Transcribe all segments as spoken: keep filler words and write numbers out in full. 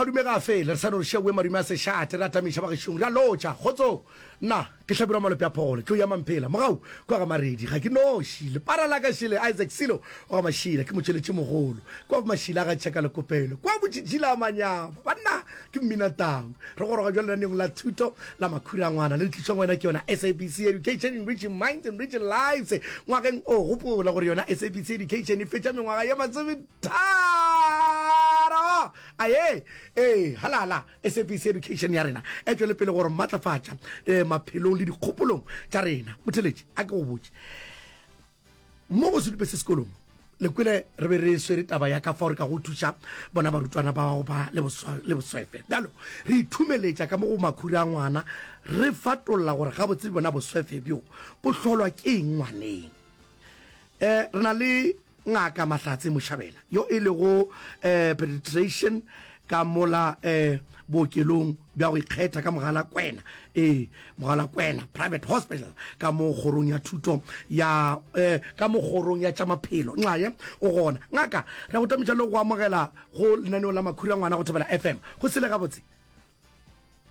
Madume ga a fele, re sa no re šeoe madume a sešate, re atamiša bagešong, re a lotša. Kgotsong! Nna ke Hlabirwa Malope a Phogole, tlou ya Mamphela, mogau kua ga Maredi, ga ke noši. Lepara la ka šele, Isaac Silo wa ga Mašila, ke motšweletši mogolo. Kua Mašila ga Tšheka Lekopelo, kua Botšitšila a Manyama, banna ke Mminatau. Re goroga bjalo lenaneong la thuto la Makhura a Ngwana, le le tlišwang wena ke yona S A B C Education, Enriching Minds, Enriching Lives. Ngwageng o, gopola gore yona S A B C Education e fetša mengwaga ye masometharo. Aye, ee, halala, S A B C Education ya rena e tšwele pele go re matlafatša eh, maphelong le dikgopolong tša rena. Motheletši, a ke go botše, mo go sedupe se sekolong, le kwele re be re swere taba ya ka fao re ka go thuša bona barutwana ba go ba le boswefe. Bjalo re ithumeletša ka mo go makhura a ngwana, re fatolla gore gabotse bona boswefe bjo bo hlolwa ke eng ngwaneng. Um re na le Ngaka Mahlatse Moshabela yo e lego um pediatrician ka mola um bookelong bja go ikgetha ka Mogalakwena, ee, Mogalakwena Private Hospital ka mo kgorong ya thuto ya um ka mo kgorong ya tša maphelo. Nxaye o gona. Ngaka, re a go tamiša le go amogela go lenaneo la Makhura Ngwana go Thobela F M. Go sele gabotse?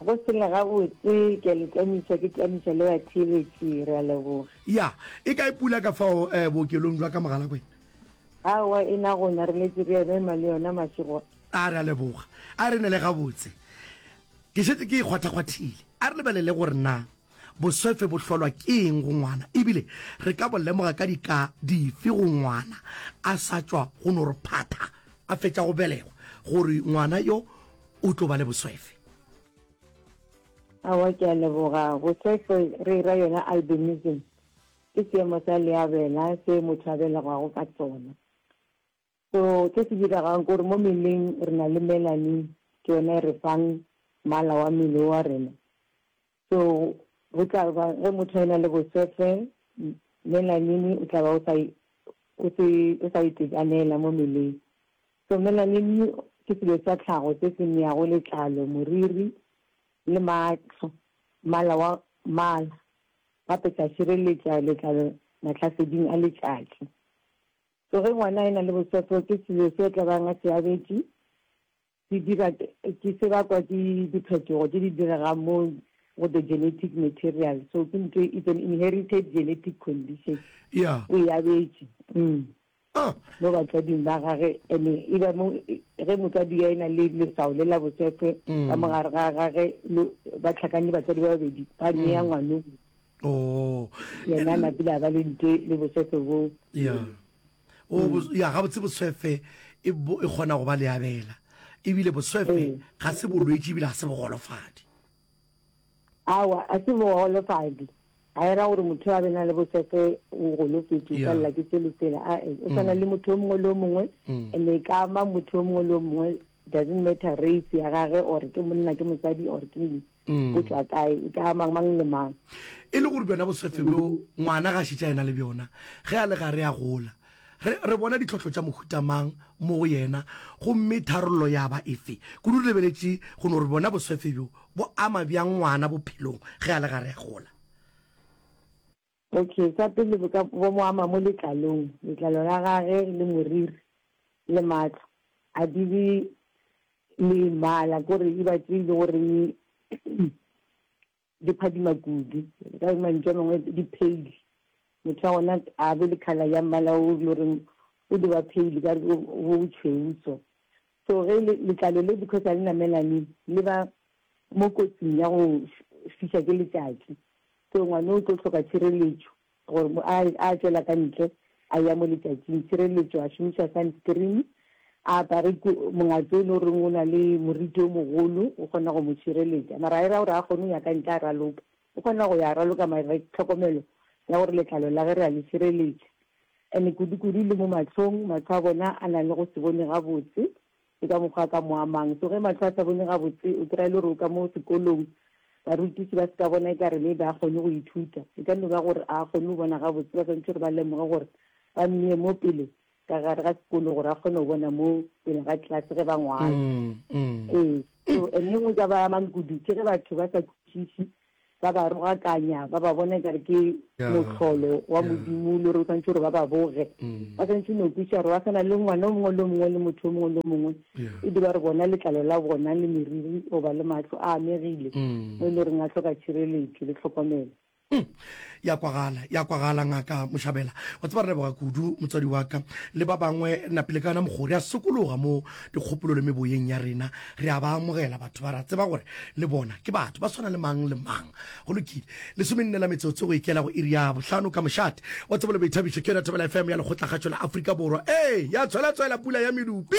Go sele gabotse, ke a le tamiša, ke tamiša le batheeletši, re a leboga. Ya, e kae pula ka fao um bookelong bja ka Mogalakwena? Aowa, e na gona, re letše re ema le yona mašego. A re a leboga. A re nele gabotse. Ke šetše ke e kgwathakgwathile. A re lebelele gore na boswefe bo hlolwa ke eng go ngwana ebile re ka bo lemoga ka dika dife go ngwana a sa tšwa go no re phatha a fetša go belegwa gore ngwana yo o tlo ba le boswefe. Aowa, ke a leboga. Boswefe re e ra yona albinism. Ke seemo sa leabela se motho a belegwago ka sona. So se se diregang ke gore mo mmeleng re na le melanin, ke yona e re fang mmala wa mmele wa rena. So go tla ba ge motho a e na le boswefe, melanin o tla ba o sa o se o sa itekanela mo mmeleng. So melanin ke selo sa tlhago se se neago letlalo, moriri le mahlo mmala wa mmala, gape sa šireletša letlalo mahlaseding a letšatši. So ge ngwana a e-na le boswefo, ke selo se tla bang a se abetše, se dira ke se bakwa ke diphetogo tše di diregang mo go the genetic material. So ke ntho, it's an inherited genetic condition. Yeah. O e abetše. Mm. Ah. Mo batswading ba gage, ene e ba mo ge motswadi a e-na le leswao le la boswefo ka mo gare ga gage, ba hlakane batswadi ba babedi, ba nea ngwano. Oh. Yena a napile a ba le ntwe le boswefe bo. Ya. O mm. ya gabotse boswefe e bo e kgona go ba leabela. Ebile boswefe ee. ga se bolwetši ebile ga se bogolofadi. Awa, a se bogolofadi. Ga e ra gore motho a be na le boswefe o golofetše o palela ke sele sela. A e, o tshwana mm. le motho o mongwe le o mongwe mm. and e ka ama motho o mongwe le o mongwe, doesn't matter race ya gage or ke monna ke mosadi or ke eng. O tšwa kae, e ka ama mang le mang. E le gore bjona boswefe bjo ngwana ga a šetše a ena le bjona ge a le gare a gola, re, re bona ditlhohlo tša mohuta mang mo go yena, gomme tharollo ya ba efe? Kudu re lebeletše go no re bona boswefe bjo bo ama bjang ngwana bophelong ge a le gare a gola. Okay, sa pele bo ka bo mo ama mo letlalong, letlalo la gage le moriri le mahlo a di be le mmala, kore e ba tše e le goreng di phadima kudu, ka mantšu a mangwe di pale. Motho wa gona a be le colour ya mmala o le goreng o di ba pale ka re bo tšhweu so. So ge letlalo le because ga le na melanin le ba mo kotsing ya go fiša ke letšatši. So ngwana o tlo hloka tšhireletšo gore a a tšwela ka ntle a ya mo letšatšing, tšhireletšo a šomiša sunscreen, a apare mongatse o le goreng o na le moriti o mogolo o kgona go mo tšhireletša. Mara ga e ra gore a kgone go ya ka ntle a raloka, o kgona go ya a raloka mara tlhokomelo ya gore letlalo la ge re a le tšhireletša. And kudu-kudu le mo mahlong, mahlo a bona a na le go se bone gabotse, ke ka mokgwa a ka mo amang. So ge mahlo a sa bone gabotse, o kry-a e le gore o ka mo sekolong, barutiši ba se ka bona e ka re maybe a kgone go ithuta. E ka no ba gore a kgone go bona gabotse, ba swanetše gore ba lemoge gore ba mmeye mo pele ka gare ga sekolo gore a kgone go bona mo pele ga class ge ba ngwala. Ee, so and e nngwe ka ba amang kudu ke ge batho ba sa kwešiše Ba ba rogakanya, ba ba bona ekare ke mohlolo wa Modimo le gore o swanetše gore ba ba boge. Ba swanetše no kwešiša gore ba swana le ngwana o mongwe le o mongwe le motho o mongwe le o mongwe. E di ba re bona letlalo la bona le meriri goba le mahlo a amegile mo e le goreng a hloka tšhireletšo le tlhokomelo. Mm. Ya kwagala, ya kwagala Ngaka Moshabela. Wa tseba re leboga kudu motswadi wa ka le ba bangwe napile ka yona mokgo re a sokologa mo dikgopolo le meboyeng ya rena. Re a ba amogela batho ba ra tseba gore le bona ke batho ba swana le mang le mang. Go lokile. Lesomenne la metsotso go ikela go iri ya bohlano ka mošate wa tsebo le boithabišo ke yona Thobela F M ya Lekgotlakgašo la Afrika Borwa. Ee, ya tshwela-tshwela pula ya medupi.